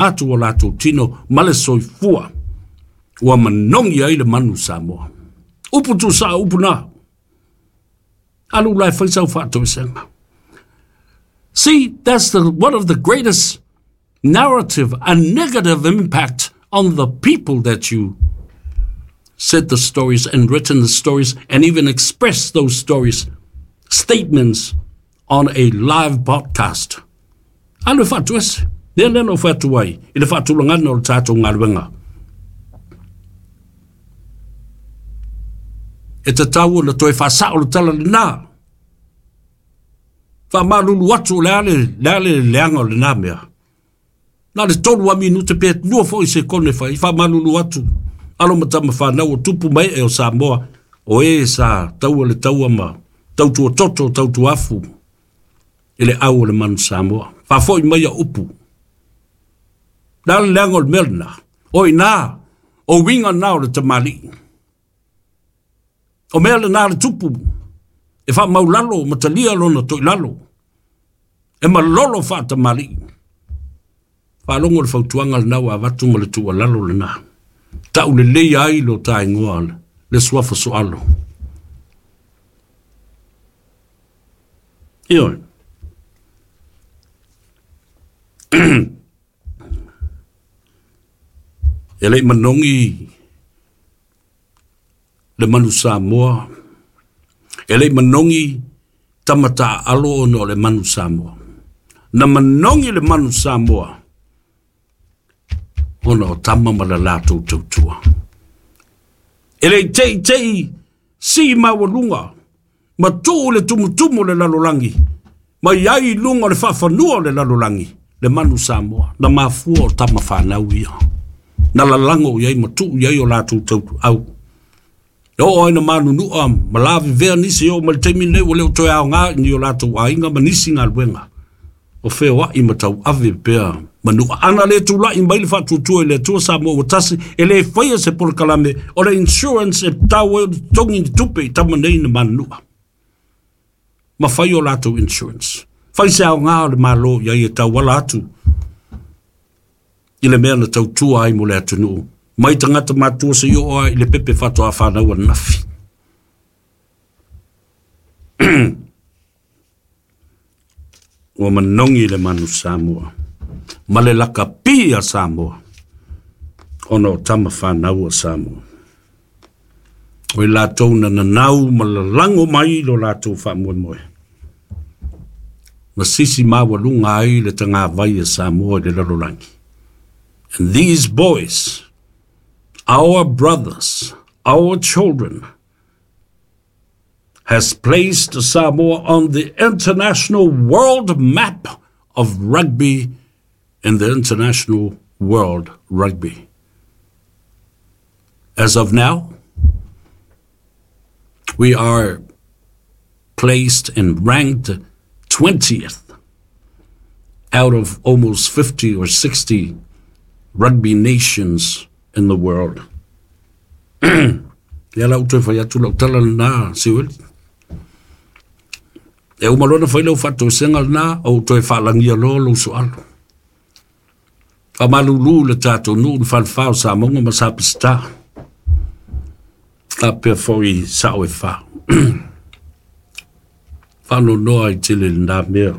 atu o latou tino ma le soifua ua manogi ai le manu Samoa. Upu tuusao upu na. Alu la e fai sau faatoesega. See, that's one of the greatest narrative and negative impact on the people that you said the stories and written the stories and even expressed those stories, statements on a live podcast. Alu e faatoese. Lea lea na ou fai atu ai i le faatulagaga o le tatou galuega. E tatau ona toe faasao le tala lena. Faamalulu atu o le a le, le, a le leaga o lena mea. Na o le tolu lava minute pe lua foi sekone fai, faamalulu atu. Alo ma tama fanau o tupu ma ee o Samoa, o e sa taua le taua ma tautua toto, tautua afu i le au o le manu Samoa. Faafoi mai au upu. Le a le leaga o le mea lena? O i ina, o uiga na o le tamalii. O mea lena a le tupu e faamaulalo ma talia lona toilalo, e malolo faatamalii. Faalogo le fautuaga lena ua avatu ma le tuualalo lena. Tau lelei ai lo ta igoa le suafa soalo. Ioe. E le i manogi le manu Samoa, e le i manogi tama taaalo ona o le manu Samoa. Na manogi le manu Samoa ona o tama ma le latou tautua. E le i teitei sii maualuga ma tuu le tumutumu o le lalolagi ma i ai i luga o le faafanua o le lalolagi le manu Samoa na mafua o tama fanau ia na lalago i ai ma tuu i ai o latou tautuau. E oo ai na manunua ma lavevea nisi e oo mai le taimi lenei ua le o toe aoga i ni o latou aiga ma nisi galuega o feoai ma tauave pea manua. Ana le tulai mai le faatuatua i le Atua Samoa ua tasi, e le faia se polokalame o le insurance e tatau ai ona totogi ni tupe i tama nei na manunua ma fai o latou insurance. Fai se aoga o le Malo i ai e tauala atu i le mea na tautua ai mo le atunuu, mai tagata matua seia oo lava i le pepe faatoa fanau ananafi. Ua manogi le manu Samoa ma le lakapi a Samoa ona o tama fanau a Samoa. O i latou na nanau ma lalago mai lo latou faamoemoe. Ma sisi maualuga ai le tagavai a Samoa i le lalolagi. And these boys, our brothers, our children, has placed Samoa on the international world map of rugby in the international world rugby. As of now, we are placed and ranked 20th out of almost 50 or 60 rugby nations in the world. Ia la ou toe fai atu lau tala lena, Siueli. E uma loa ona fai lau faatoesega lena, ou toe faalagia loa lou soalo. Faamalulu le tatou nuu le falefa o Samoga ma Sapeseta. Faapea foi sao e fa. Faanoanoa ai tele lena mea.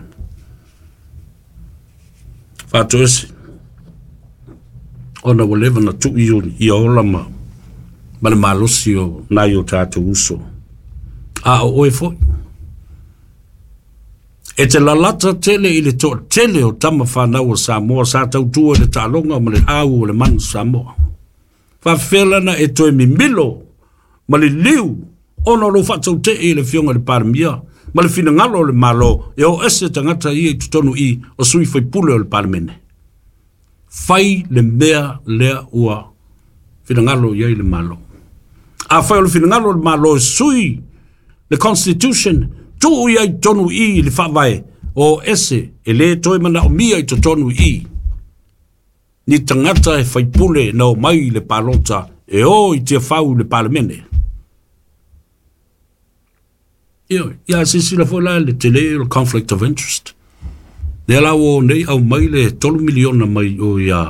Faatoese ona ua leva na tuu ia ola ma, ma le malosi o nai o tatou uso. A o oe foi. E te lalata tele i le toatele o tama fanau a Samoa sa tautua i le taaloga ma le au o le manu Samoa. Faafefea lana e toe mimilo ma liliu ona o lou faatautee i le Afioga i le Palemia ma le finagalo o le Malo e o ese tagata ia i totonu i o sui faipule o le Palemene. Fai le mea lea ua finagalo i ai le Malo. Afai o le finagalo o le Malo e sui le Constitution, tuu ia i totonu i i le Faavae, o ese e le toe manaomia i totonu i ni tagata e faipule na omai i le palota e o i Tiafau i le Palemene. Ioe, ia silasila foi la i le tele o le conflict of interest. Lea la ua o nei aumai le $3 miliona mai o ia.